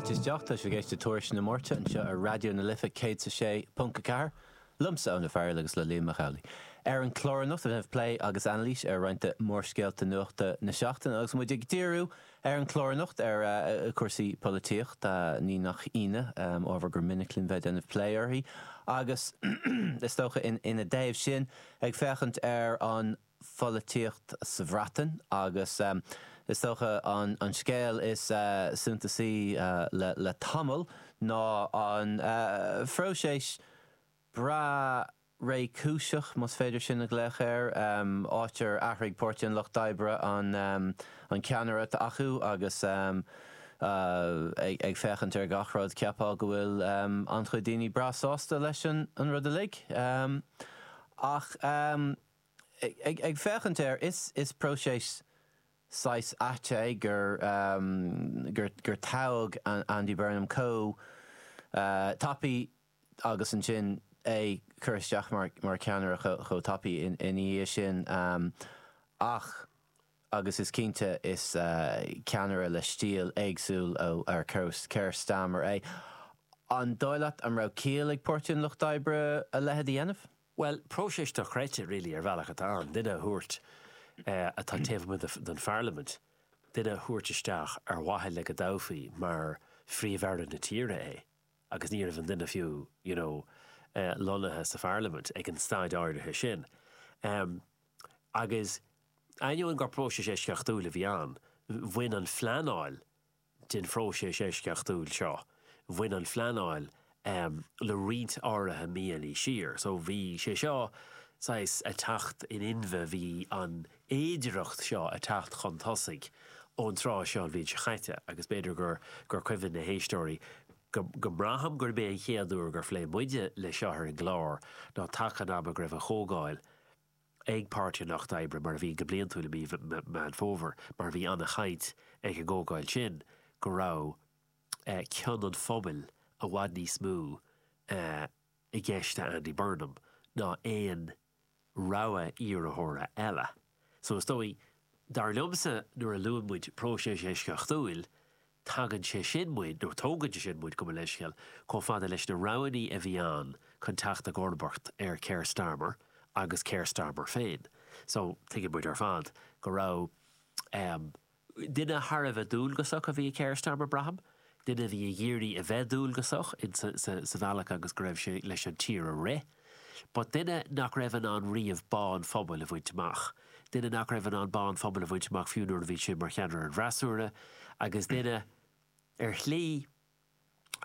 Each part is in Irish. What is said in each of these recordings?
Fáilte isteach, tá sibh ag éisteacht le Tuairisc na Máirte anseo ar Raidió na Life 106.4, liomsa, Eoin Ó Fearghail agus le Liam Mac Amhlaigh. Ar an chlár anocht, ag déanamh plé agus anailís ar roinnt de mhórscéalta nuachta na seachtaine agus muid ag díriú ar an chlár anocht ar chúrsaí polaitíochta, ní nach ionadh, ábhar gur minic linn bheith ag déanamh plé uirthi agus is dócha ina dtaobh sin ag féachaint ar an pholaitíocht sa Bhreatain agus is dócha an scéal is suntasaí le tamall ná an phróiseas breá réchúiseach, más féidir sin a ghlaoch air, áit ar athraigh Páirtí an Lucht Oibre an ceannaire atá acu agus ag féachaint ar gach rud cheapfá go bhfuil an-chuid daoine breá sásta leis an rud uilig. Ach. Ag féachaint air, is próiseas saghas ait é gur gur toghadh Andy Burnham chomh tapaidh agus ansin é cur isteach mar cheannaire chomh tapaidh ina dhiaidh sin. Ach, agus is cinnte, is ceannaire le stíl éagsúil ó Keir Starmer é. An dóigh leat an raibh ciall ag Páirtí an Lucht Oibre a leithéid a dhéanamh? Bhuel, próiseas dochreidte, really, ar bhealach atá ann, duine a thabhairt atá taobh amuigh den pharlaimint, duine a thabhairt isteach ar mhaithe le go dtoghfaí mar Phríomh-Aire na tíre é agus ní raibh an duine fiú, you know, lonnaithe sa pharlaimint ag an staid áirithe sin. Agus ainneoin gur próiseas eisceachtúil a bhí ann, bhain an phleanáil den phróiseas eisceachtúil seo, bhain an phleanáil le roinnt áirithe míonna siar. So bhí sé seo saghas ag teacht in inmhe, bhí an fhéidireacht seo ag teacht chun tosaigh ón tráth seo an bhliain seo chaite agus b'fhéidir gur gur cuimhin le héisteoirí go go mbraithim gurb é an chéad uair gur phléigh muide le seo ar an gclár ná taca an ama go raibh an chomhdháil ag Páirtí an Lucht Oibre, mar a bhíonn go bliantúil i mí Meán Fómhair, mar bhí ana-chaint ag an gcomhdháil sin go raibh cion an phobail i bhfad níos mó i gceist do Andy Burnham ná aon rogha iarrthóra eile. So is dóigh, dar liomsa, nuair a luann muid próiseas eisceachtúil, Tagann sé sin muid, nó tógann sé sin muid, gabh mo leithscéal, chomh fada leis na roghanna a bhí ann chun teacht i gcomharbacht ar Keir Starmer agus Keir Starmer féin. So, tuigeann muid ar fad go raibh, em, duine thar a bheith dualgasach a bhí i Keir Starmer, braithim, duine a bhí ag iarraidh a bheith dualgasach in sa, sa, sa bhealach agus go raibh sé leis an tír a rith. But duine nach raibh in ann riamh bá an phobail a bhaint amach. Duine nach raibh in ann bá an phobail a bhaint amach fiú nuair a bhí sé mar cheannaire an fhreasúra, agus duine, ar shlí,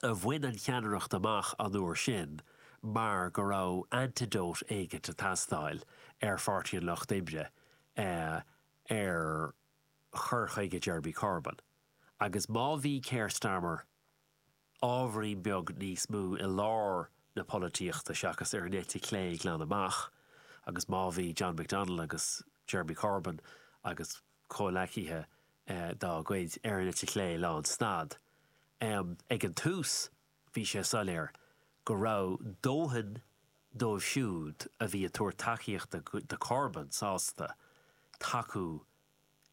a bhain an cheannaireacht amach an uair sin mar go raibh antidote éigint ag teastáil ar Pháirtí an Lucht Oibre ar chur chuige Jeremy Corbyn. Agus má bhí Keir Starmer ábhairín beag níos mó i lár na polaitíochta seachas ar an eite chlé glan amach agus má bhí John McDonnell agus Jeremy Corbyn agus comhleacaithe dá gcuid ar an eite chlé lán stad. Ag an tús bhí sé soiléir go raibh dóthain dóibh siúd a bhí ag tabhairt tacaíochta do Corbyn sásta tacú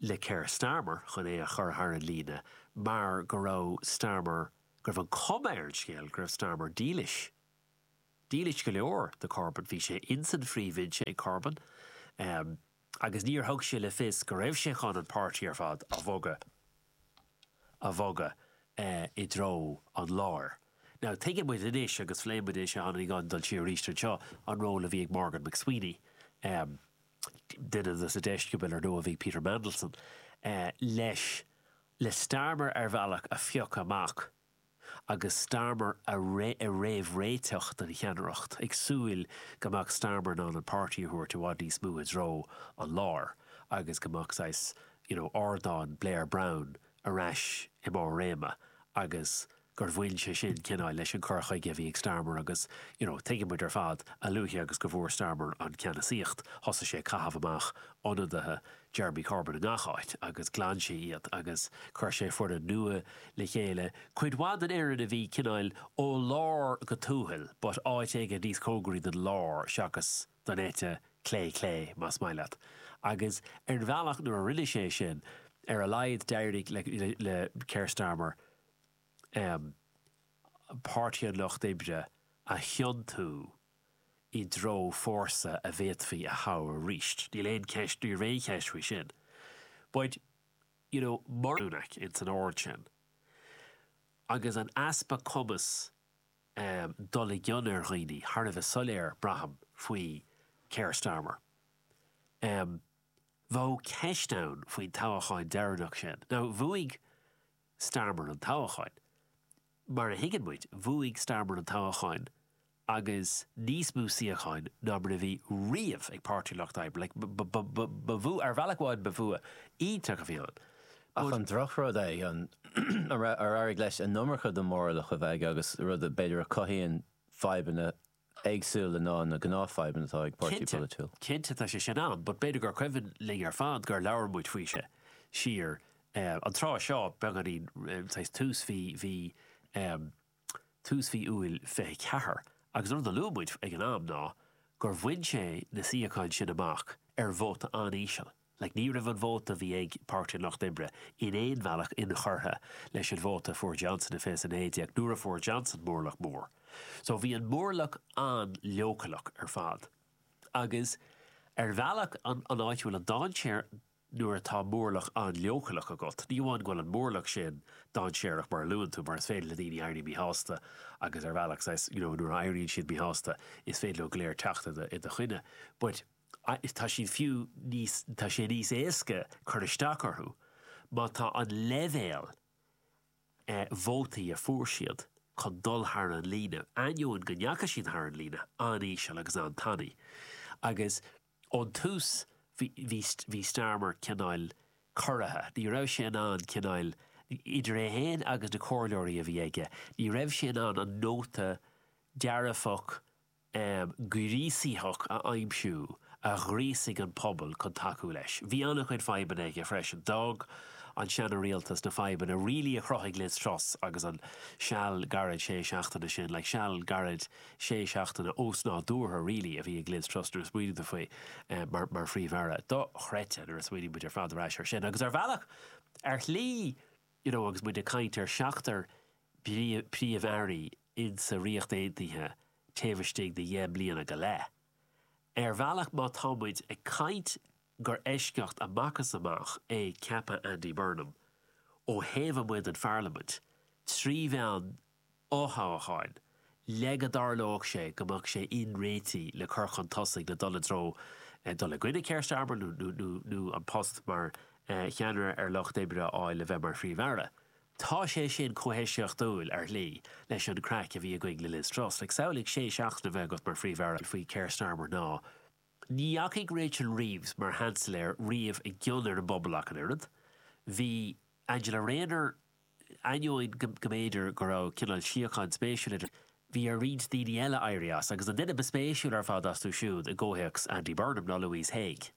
le Keir Starmer chun é a chur thar an líne mar go raibh Starmer, go raibh an cuma ar an scéal go raibh Starmer dílis, dílis go leor do Corbyn. Bhí sé ins an phríomhbhinse ag Corbyn agus níor thug sé le fios go raibh sé chun an páirtí ar fad a bhogadh, a bhogadh i dtreo an láir. Now tuigeann muid anois, agus phléigh muid é seo cheana, ní gá dul siar arís anseo, an ról a bhí ag Morgan McSweeney, duine de na deisceabail ar ndóigh a bhí Peter Mandelson leis, le Starmer ar bhealach a phiocadh amach agus Starmer a réamhréiteach don cheannaireacht, ag súil go mbeadh Starmer in ann an páirtí a thabhairt i bhfad níos mó i dtreo an láir agus go mbeadh saghas you know ardán Blair Brown ar ais i mbarr réime agus gur bhain sé sin cineál leis an cur chuige a bhí ag Starmer agus you know tuigeann muid ar fad a luaithe agus go bhfuair Starmer an ceannasaíocht thosaigh sé ag caitheamh amach ionadaithe Jeremy Corbyn i ngach áit agus ghlan sé iad agus chuir sé foireann nua le chéile, cuid mhaith den fhoireann a bhí cineál ó lár go tuathal but áit éigin níos cóngaraí don lár seachas don eite clé clé más maith leat. Agus ar bhealach nuair a rinne sé sin ar a laghad d'éirigh le le Keir Starmer. Páirtí an Lucht Oibre a thiontú i dtreo fórsa a bhféadfaí a thoghadh arís. Níl aon cheist, ní raibh aon cheist faoi sin. But, you know, mar Sunak ins an ord sin agus an easpa cumas dul i gcion ar dhaoine thar a bheith soiléir, braithim, faoi Keir Starmer. Bheadh ceist ann faoin toghachán deireanach sin. Now, bhuaigh Starmer an toghachán. Mar a thuigeann muid, bhuaigh Starmer an toghachán agus níos mó suíocháin ná mar a bhí riamh ag Páirtí an Lucht Oibre. Like, ba bhua, ar bhealach amháin ba bhua iontach a bhí ann. Ach an drochrud é, an ar éirigh leis an iomarca de mhórlach a bheith aige agus rud b'fhéidir a chothaíonn fadhbanna éagsúla ná na gnáthfhadhbanna atá ag páirtí polaitiúil. Cinnte tá sé sin ann, but b'fhéidir gur cuimhin linn ar fad gur labhair muid faoi sin siar an tráth seo, beagáinín, saghas tús mhí, mhí, tús mhí Iúil 24, agus an rud a luaigh muid ag an am ná gur bhain sé na suíocháin sin amach ar vóta an-íseal. Like, ní raibh an vóta a bhí ag Páirtí an Lucht Oibre in aon bhealach inchurtha leis an vóta a fuair Johnson i 2019 nuair a fuair Johnson mórlach mór. So bhí an mórlach an-leochaileach ar fad. Agus ar bhealach an an áit a bhfuil an dainséar nuair atá mórlach an-leochaileach agat, ní amháin go bhfuil an mórlach sin dainséarach mar a luann tú, mar is féidir le daoine éirí míshásta agus ar bhealach saghas, you know, nuair a éiríonn siad míshásta is féidir leo go léir teacht i do i do choinne. But tá siad fiú níos, tá sé níos éasca cur isteach orthu má tá an leibhéal vótaí a fuair siad chun dul thar an líne, ainneoin go ndeachaigh siad thar an líne, an-íseal agus an-tanaí. Agus ón tús bhí, bhí, bhí Starmer cineál corraithe, ní raibh sé in ann cineál, idir é féin agus na comhairleoirí a bhí aige, ní raibh sé in ann an nóta dearfach, gríosaitheach a aimsiú a ghríosaigh an pobal chun tacú leis. Bhí an-chuid fadhbanna aige freisin. D'fhág an seana-rialtas na fadhbanna really a chruthaigh Liz Truss agus an seal gairid sé seachtaine sin, like seal gairid sé seachtaine osnádúrtha really a bhí ag Liz Truss nuair a smaoiníonn tú faoi mar mar Phríomh-Aire. Dochreidte nuair a smaoiníonn muid ar fad ar ais ar sin. Agus ar bhealach, ar shlí, you know agus muid ag caint ar seachtar Príomh-Airí insa Ríocht Aontaithe taobh istigh de dheich mbliana go leith. Ar bhealach má tá muid ag caint gur eisceacht amach is amach é ceapadh Andy Burnham ó thaobh amuigh den pharlaimint trí mheán fhothoghcháin le go dtarlódh sé go mbeadh sé inréitithe le cur chun tosaigh le dul i dtreo dul i gcoinne Keir Starmer nó an post mar cheannaire ar Lucht Oibre a fháil le bheith mar Phríomh-Aire. Tá sé sin chomh heisceachtúil, ar shlí, leis an craic a bhí againn le Liz Truss. Like, samhlaigh sé seachtaine a bheith agat mar Phríomh-Aire faoi Keir Starmer ná ní dheachaigh Rachel Reeves mar Sheansailéir riamh i gcion ar an bpobal ach an oiread. Bhí Angela Rayner, ainneoin go mb'fhéidir go raibh cineál síocháin spéisiúil idir, bhí ar roinnt daoine eile éirí as, agus an duine ba spéisiúil ar fad astu siúd i gcomhthéacs Andy Burnham ná Louise Haigh.